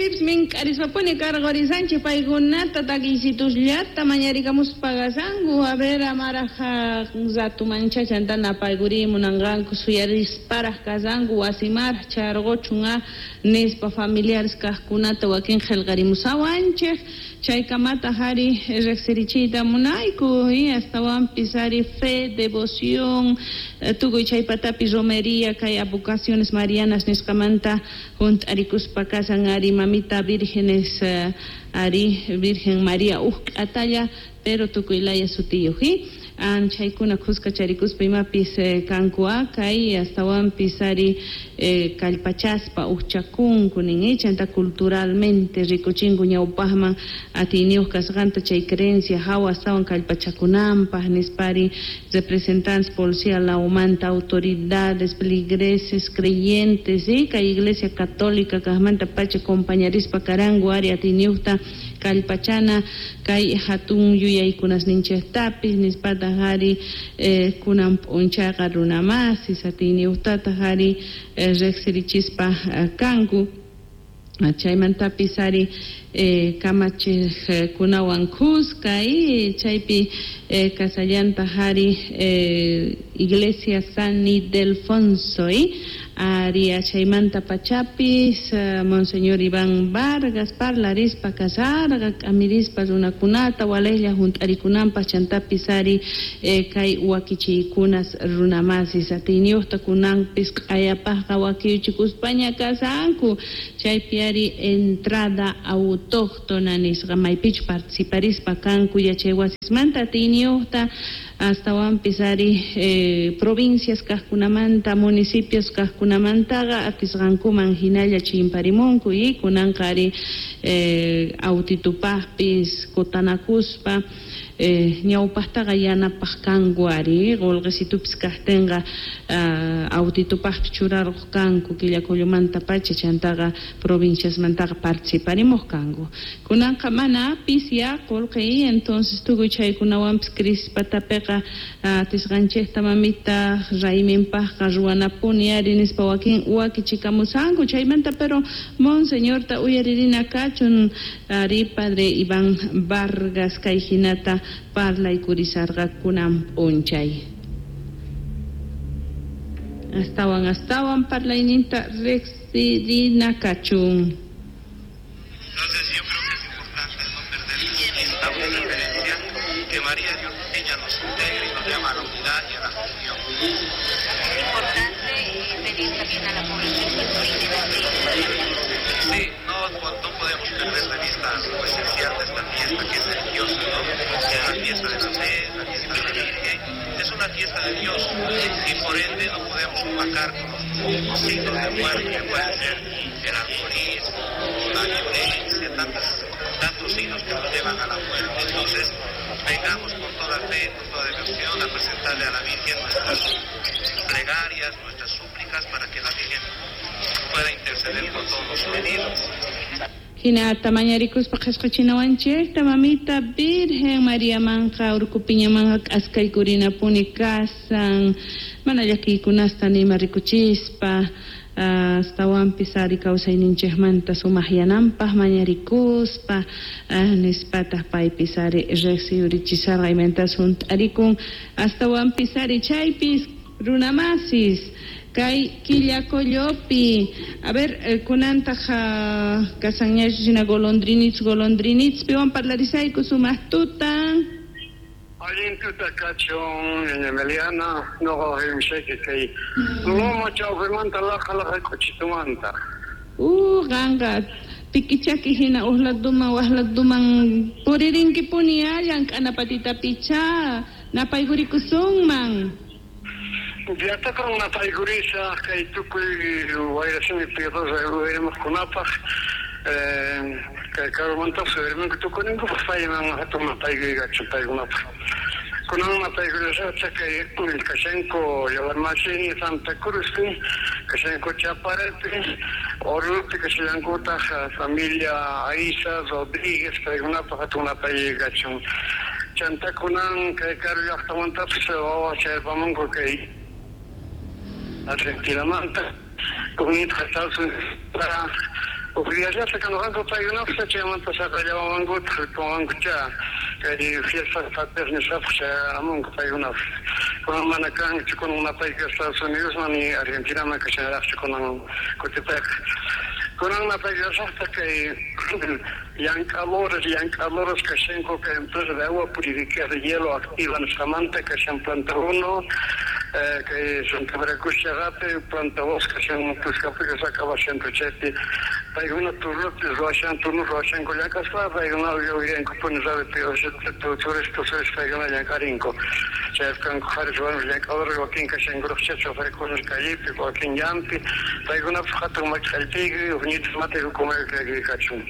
Chaypipis mink'arispapuni karqorisanchej paykunata takiysitusllata mañarikamuspa kashanku. A ver, amaraj ratumancha chantá napaykuriy munanqanku suyarisparaj kashanku wasimaraj chayarqochun á nispa familiares kajkunata wakin qhelqarimusawanchej. Chaykamataj ari rejsirichiyta munayku, astawanpis ari fe, devoción, tukuy chay patapi romería kay advocaciones marianas nisqamanta junt'arikuspa kashan ari mamita vírgenes ari Virgen María uj k'atalla pero tukuy laya sutiyoj. Chaykuna khuskacharikuspa imapis kanku á kay astawanpis ari kallpachaspa ujchakunku nin chantá culturalmente rikuchinku ñawpajman atiyniyoj kasqanta chay creencia jawa astawan kallpachakunanpaj nispari representantes policía lawmanta autoridades feligreses creyentes kay iglesia católica kajmanta pacha compañarispa karanku ari atiyniyojta kallpachana kay hatun yuyaykunasninchejtapis nispataj ari kunan p'unchayqa runamasis atiyniyojtataj ari rejsirichispa kanku. Chaymantapis ari kamachejkunawan khuska chaypi kasallantaj ari Iglesia San Ildefonso ari chaymanta pachapis Monseñor Iván Vargas parlarispa kasarqa k'amirispa runakunata walejlla junt'arikunanpaj chantapis ari kay wakichiykunas runamasis atiyniyojta kunanpis q'ayapajqa wakiyuchikuspaña kasanku chaypi ari entrada autóctona nisqa maypichu participarispa kanku yachaywasismanta atiyniyojta astawanpis ari provincias kajkunamanta municipios kajkunamantaqa atisqankuman hinalla chimparimunku y kunanqa ari autitupajpis kutanakuspa ñawpajtaqa yanapaj kanku ari qolqesitupis kajtinqa autitupajpis churarqoj kanku Quillacollomanta pacha chantaqa provinciasmantaqa participarimuj kanku. Kunanqa mana pis ya qolqe entonces tukuy chaykunawanpis crisis patapiqa atisqanchejta mamita rayminpajqa ruwanapuni ari nispa wakin wakichikamusanku chaymanta pero Monseñorta uyaririna kachun ari padre Iván Vargas kay hinata parlaykurisarqa kunan p'unchay. Astawan astawan parlayninta rejsirina kachun. Entonces yo creo que es importante no perder de vista una referencia que María Dios, ella nos integra y nos llama a la unidad y a la comunión. Es importante pedir también a la población que cuide la fe. Sí, no podemos perder de vista lo esencial de esta fiesta que es religiosa, ¿no? Es la fiesta de la fe, la fiesta de la Virgen, es una fiesta de Dios y por ende no podemos opacar con los signos de muerte que pueden ser el alcoholismo, la violencia, tantos signos que nos llevan a la muerte. Entonces, vengamos con toda fe, con toda devoción a presentarle a la Virgen nuestras plegarias, nuestras súplicas para que la Virgen pueda interceder por todos nosotros. Hinata mañarikuspa qhasqachinawanchikta mamita Virgen María manqa urkupiñamanqa k'askaykurinapuni kasan mana llakiykunasta nima rikuchispa astawanpis ari kawsayninchikmanta sumaqyananpaq mañarikuspa nispataq paypis ari riqsiyurichisarqa imaynatas hunt'arikun astawanpis ari chaypis runamasis kay Quillacollopi. A ver, kunantaq kasanñachu hina golondrinits golondrinits piwan parlarisayku sumaq tuta. Allin tuta kachun, ñaña Meliana, noqa rimshayki kay Loma chawpimanta laqa laqa k'uchitumanta. Qanqa pikichaki hina uqladuman waqladuman puririnkipuni a llank'ana patitapicha napaykurikusunman. Llaqtakan napaykurisaq kay tukuy wayrasimi piadosa uyarimuqkunapaq kay karumantapas uyarimunku tukuninkupaq payman hatun napaykuy kachun paykunapaq. Kunan napaykurisaqcha kay kashanku Yawarmachini Santa Cruzpi, kashanku Chaparepi, Orupi kashallankutaq familia Aiza Rodríguez paykunapaq hatun napaykuy kachun. Chanta kunan kay karu llaqtamantapas wawa chayarpamunku kay Argentinamanta, kunitqa Estados Unidos Uj diasllata kanqanku paykunapis chaymanta saqallawankutaj ripunqankuchá kay fiestas patrias nisqapaj chayamunku paykunapis. Kunan mana kanchu kunan napayku Estados Unidosman ni Argentinaman kashanrajchu kunan kutipayqa. Kunan napaykullashajtaj kay llank'adores, llank'adores kashanku kay empresa de agua purificada de hielo activa nisqamanta kashan planta 1, kay Santa Veracruz cheqapi, planta 2 kashan Tuxcapica Sacaba centro chaypi paykuna turnopi ruwashan, turno ruwashanku llank'aspa paykuna uyarinkupuni radiopi tusuris tusuris paykuna llank'arinku. Chaypi kanku qharis warmis llank'adores wakin kashankurajchá choferkunas callepi wakin ñanpi paykunapis hatun maki qallpiyku uj ñitis matayku kumayku kachun.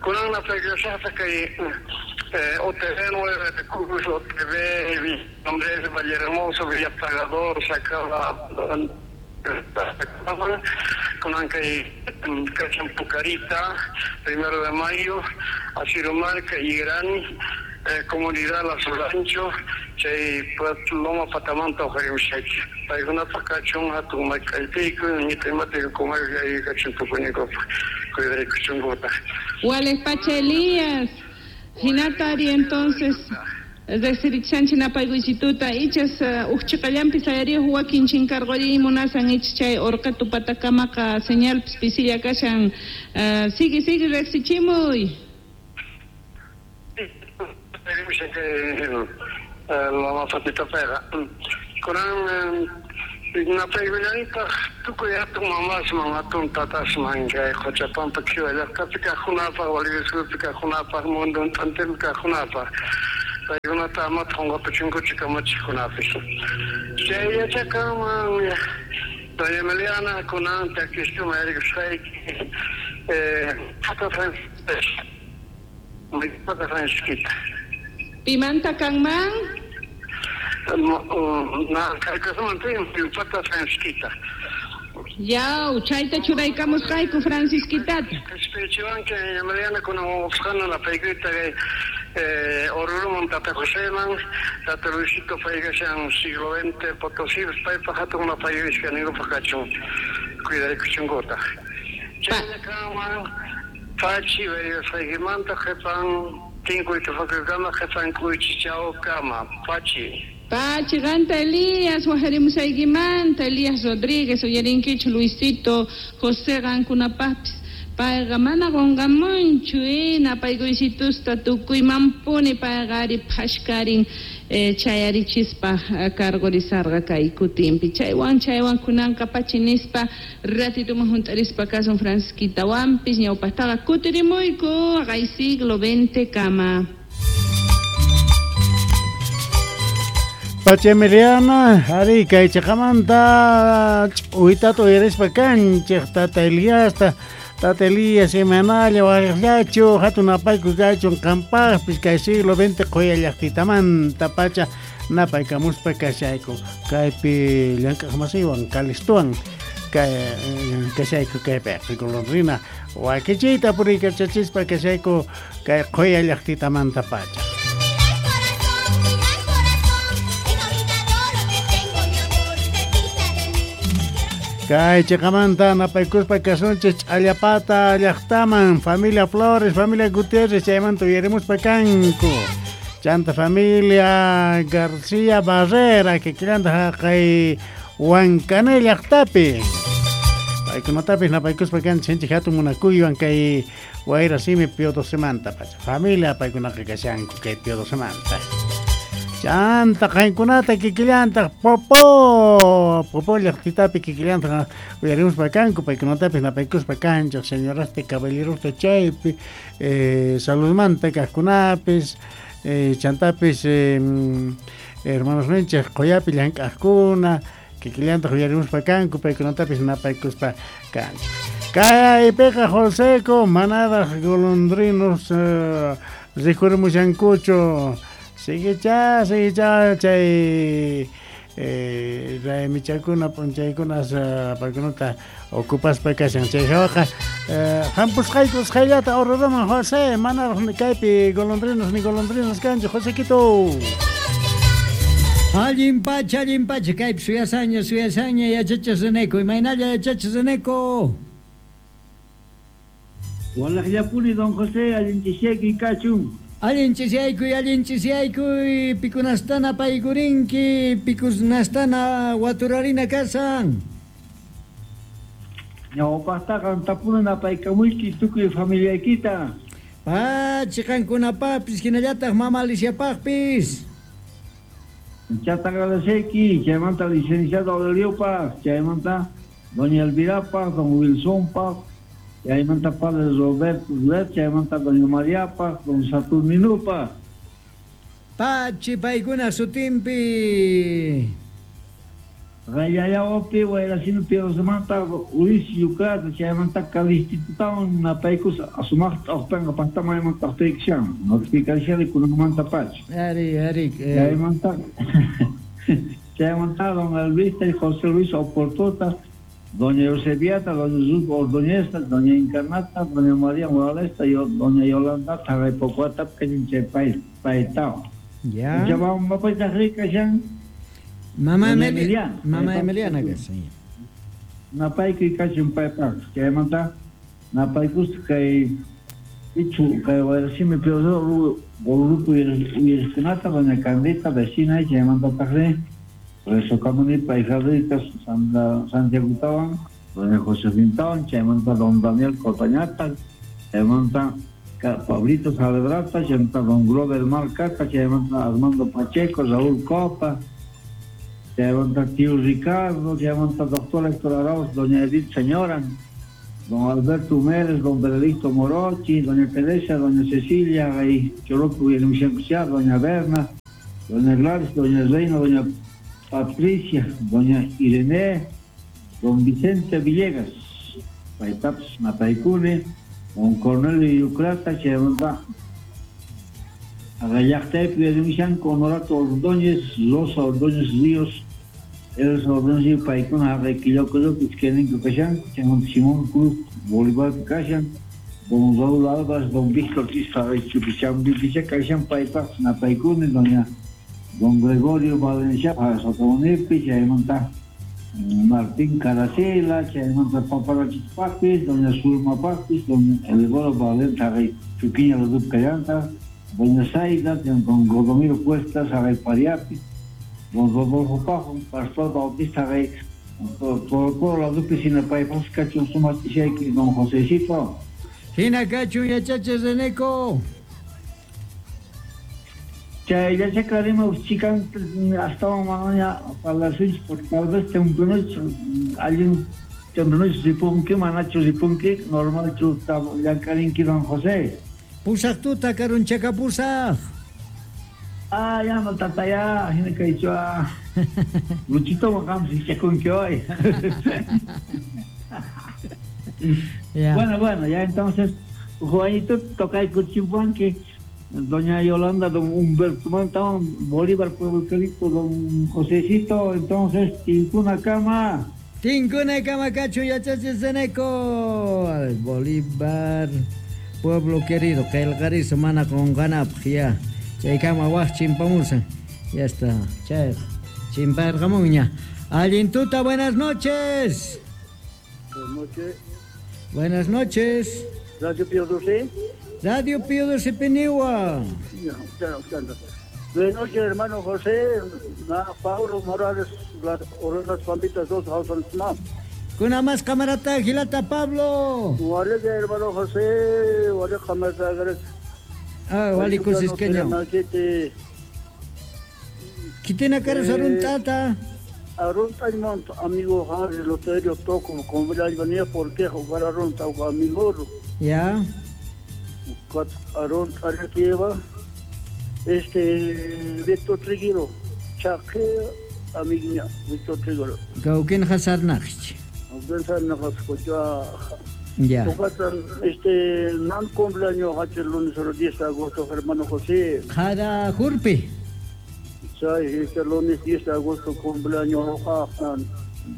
Kunan napaykullashajtaj kay OTV 9 de Cruz, OTV Andrés, Valle Hermoso, Villa Pagador, Sacaba, kunan kay kashan Pucarita, 1 de Mayo, Asirumarca, Igrani, Comunidad La Solancho, chay Loma Patamanta uqharimushayki. Paykunapaj kachun hatun maki qallpiyku, ñita imatayku kumayku kachun tukuyniykupak cuidarikuchunkutaj. Wales Pacha Elías, hinatari entonces riqsirichanchik napaykuychituta ichas uqchiqallanpi sayariyuq wakin chinkarquriy munasan ich chay urqitu patakamaqa señalpis pisilla kashan. Sigue sigue riqsichimuy. Loma Patitapayqa. Kunan napaykullanitaq tukuy hatun mamasman, hatun tatasman kay Qochapampa Qhiwa llaqtapi kaqkunapaq, Bolivia suyupi kaqkunapaq, mundo entero kaqkunapaq. Paykunata amata qunqapuchunkuchu kamachiqkunapis. Chay yachakanman Doña Emiliana kunan takisuma yarikusqayki Pata Francisquita. Pimanta kanman? Na kaykasaman Pata Francisquita. Yaw, chayta churaykamusqayku Francisquitata. Qhispichiwanki Emiliana kunan wawqana napaykuyta kay Oruruman Tata Joseman, Tata Luisito paykashan siglo XX Potosí, paypaj hatun napaykushka ninkupaj kachun cuidarikuchunkutaj. Chayna kanman pachi verigasqaykimanta qhipan tinkuy tupakukama qhipan k'uychichawkama pachi. Pachi qanta Elías wajarimusaykimanta Elías Rodríguez uyarinkichu Luisito José qankunapajpis payqa mana qunqamunchu napaykuychitusta tukuymanpuni payqa ari phashkarin chayarichispa karqurisarqa kay kutinpi chaywan chaywan kunanqa pachi nispa ratituman hunt'arispa kasun Francisquitawanpis ñawpaqtaqa kutirimuyku kay siglo XX kama. Pacha Emiliana, ari kay chiqamanta ch'uytata uyarispa kanchik Tata Eliasta, Tata Elías imanalla waqllachu hatun napayku kachun qampaqpis kay siglo XX quya llaqtitamanta pacha napaykamuspa kashayku kaypi llank'aqmasiwan Calistuwan kashayku kaypi golondrina wakichiyta puriykachachispa kashayku kay quya llaqtitamanta pacha. Kay chiqamanta napaykuspa kasunchik Ch'allapata llaqtaman familia Flores, familia Gutiérrez chaymanta uyarimuspa kanku. Chanta familia García Barrera kikillanta haqay Huancané llaqtapi. Paykunatapis napaykuspa kanchik sinchi hatun munakuywan kay Wayra Simi Pío XII pacha. Familia paykunaqa kashanku kay Pío XII. Chanta qankunata kikillantaq Popó Popó llaqtitapi kikillantaq uyarimuspa kanku paykunatapis napaykuspa kanchik señorasta caballerosta chaypi saludmanta kaqkunapis chantapis hermanosninchik quyapi llank'aqkuna kikillantaq uyarimuspa kanku paykunatapis napaykuspa kanchik. Kaypiqa Joseco manaraq golondrinos rikhurimushankuchu. Sigue cha, chay raymichakuna p'unchaykunas paykunata ocupaspa kashan chay hawaqa hampusqayku usqhayllata Oruruman José manaraq kaypi golondrinos ni golondrinas kanchu Josequito. Allin pacha kaypi suyasaña suyasaña yachachis rineco imaynalla yachachis rineco. Walaqllapuni don José, allin chisiyaykuy kachun. Allin chisiyaykuy, allin chisiyaykuy, pikunastana paykurinki, pikunastana waturarina kasan. Ñawpaqtaqa tapuna napaykamuyki tukuy familiaykita. Pachi qankunapaqpis hinallataq mama Aliciapaqpis. Chata agradeceki, chaymanta licenciado Aureliopaq, chaymanta doña Elvirapaq, don Wilsonpaq, chaymanta padre Roberto Duet, chaymanta doña Mariapaq, don Saturninupaq. Pachi paykuna sutinpi. Rayayawapi wayrasinu Piedrosamanta Ulises Yucrata, chaymanta Calistitutawan napaykus sumaqta ojpanqa paqtamaymanta ojpaykishan, notificación kunanmanta pacha. Ari, ari. Chaymanta chaymanta don Elvista y José Luis Oportota, doña Eusebiata, doña Ruth Ordóñez, doña Encarnata, doña María Morales y doña Yolanda Taraypocuata, peñinche paitao. Ya. Chabam mapayta rikashan. Mamá Emiliana. Mamá Emiliana que sí. Napaykuy kachun paypaq. Chaymanta napaykus kay ichu kay wayrasimi Piedro grupo uyariqkunata doña Candita vecina chaymanta taqri Resokamuni payjadrita Santiagotawan doña Josefintawan chaymanta don Daniel Cotañata chaymanta Pablito Saavedrata chaymanta don Glover Marcata chaymanta Armando Pacheco Raúl Copa chaymanta tío Ricardo, chaymanta doctor Héctor Arauz, doña Edith Señora, don Alberto Mérez, don Benedicto Morochi, doña Teresa, doña Cecilia, y Choropu y el doña Berna, doña Gladys, doña Reina, doña Patricia, doña Irene, don Vicente Villegas, Paitaps Mataicune, don Cornelio Yucrata, chaymanta Agallactep, Honorato Ordóñez, Rosa Ordóñez Ríos, Elsa Ordóñez Paicuna, Arrequilocoyo, Quisqueninco Cachán, Simón Cruz, Bolívar Cachán, don Raúl Álvarez, don Víctor Tisca, Chupichán, Picha Cachán, Paipax, Napaicune, doña don Gregorio Valencia, Sotonepi, chaymanta Martín Caracela, chaymanta Paparachis doña Zulma Pactis, don Elevoro Valencia, Chuquiña Lodup Cayanta, doña Zaida, don Godomiro Cuestas, Pariapi, don Rodolfo Pajo, Pastor Bautista, por la duplicina Paipas, Cachun Sumatishaiki, don Josecito. Hina Cachun Yachaches Reneco. Chay yachakarima chikan hasta manaña parlasunchik porque tal vez tempranuch alguien tempranuch ripunki manachu ripunki normalchu llank'arinki don José. Pusaq tuta karunchakapusaq. Ah, ya no tata ya, hina kaychua. Luchito qam sichakunki hoy. Bueno, bueno, ya entonces Juanito tocaykuchimpanki doña Yolanda, don Humberto Mantón, Bolívar Pueblo Querido, don Josecito, entonces, Tincuna Cama. Tincuna Cama, Cacho, Yachache, Seneco. Bolívar, Pueblo Querido, que el garizo mana con ganap, ya. Chaykama waj chimpamusa. Ya está, chay. Chimpargamuña. Alintuta, buenas noches. Buenas noches. Buenas noches. Radio Pío XII. Radio Pío XII Peniwa. Buenas noches, hermano José, Pablo Morales, las Pampitas 2, Hausan. Kuna más camarata, Gilata Pablo. Wale, hermano José, wale camarata. Ah, wale kusiskeño. Kitina caras aruntata. Arunta amigo Harry Loterio toco con venía porque jugar arunta amigo. Ya. Arun Arrequieva, Víctor Triguero, Chaque, amigña, Víctor Triguero. Gauquén Hazarnach. Ya. Nan cumpleaños, el lunes el 10 de agosto, hermano José. Jara Jurpi. Sí, este lunes 10 de agosto cumpleaños,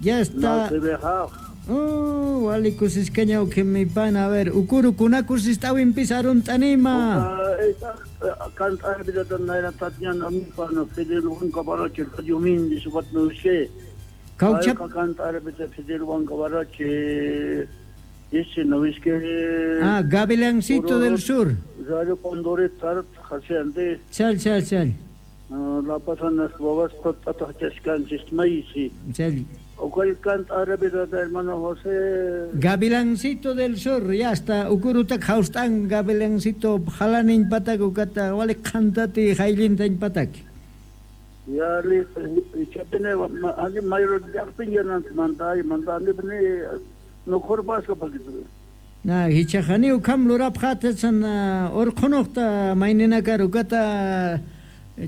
Ya está. Oh, wali kusiskeña que mi pana, a ver, ukuru kunakus estaba empizaron tanima. Cantar vida tan naira tatñan mi pana Fidel Juan Cabarache, Radio Mindi, subat no sé. Caucha cantar vida Fidel Juan Cabarache. Isi no es que Ah, Gavilancito del Sur. Radio Condore Tart Hasiante Chal, chal, chal. La pasan las babas tatachascanchis maisi. Chal. O cual canta árabe hermano José. Gavilancito del Sur, ya está. Ukuruta haustan Gavilancito jalanin patak ukata wale kantati jailintan patak. Ya li chapene ani mayro yapin manda manda ani bne no khorpas ka pakit. Na hichajani ukam lurap khatsan orqhunuqta mayninakar ukata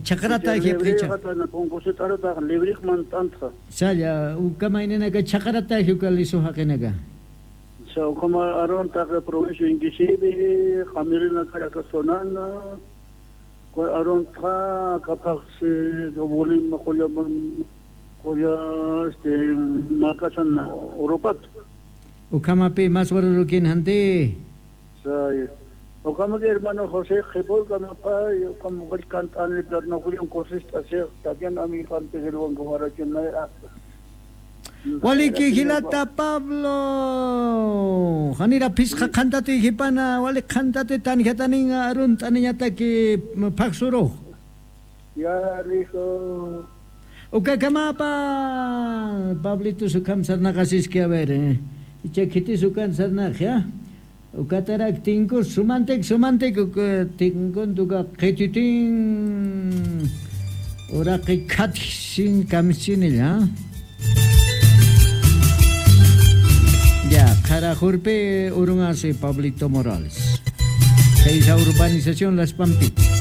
chakrata hipricha. Salla uka mayninaka chakrata hiukalisu haqinaka. So como aron ta provincia inclusive qamirina karakasonana aron ta capaz bolim qolla qolla este makasan Europa. Ukamapi más warurukin hanti. Say. Okama que hermano José Jebol kamapa como el cantante no Julián Cosista se también a mi cante del banco marachuna. Waliki hilata Pablo. Hanira pisqa cantati hipana wali cantate tan hatanin arun taniñataki paksuro. Ya rico. Ukakamapa Pablito sukam sarnaqasiski a ver. Icha sukan sarnaq ya. Ukatarak tinku sumantek sumantek tinkun tuka qititin uraqi khatsin kamsinilla. Ya, Carajurpe Urungase Pablito Morales. Esa urbanización Las Pampitas.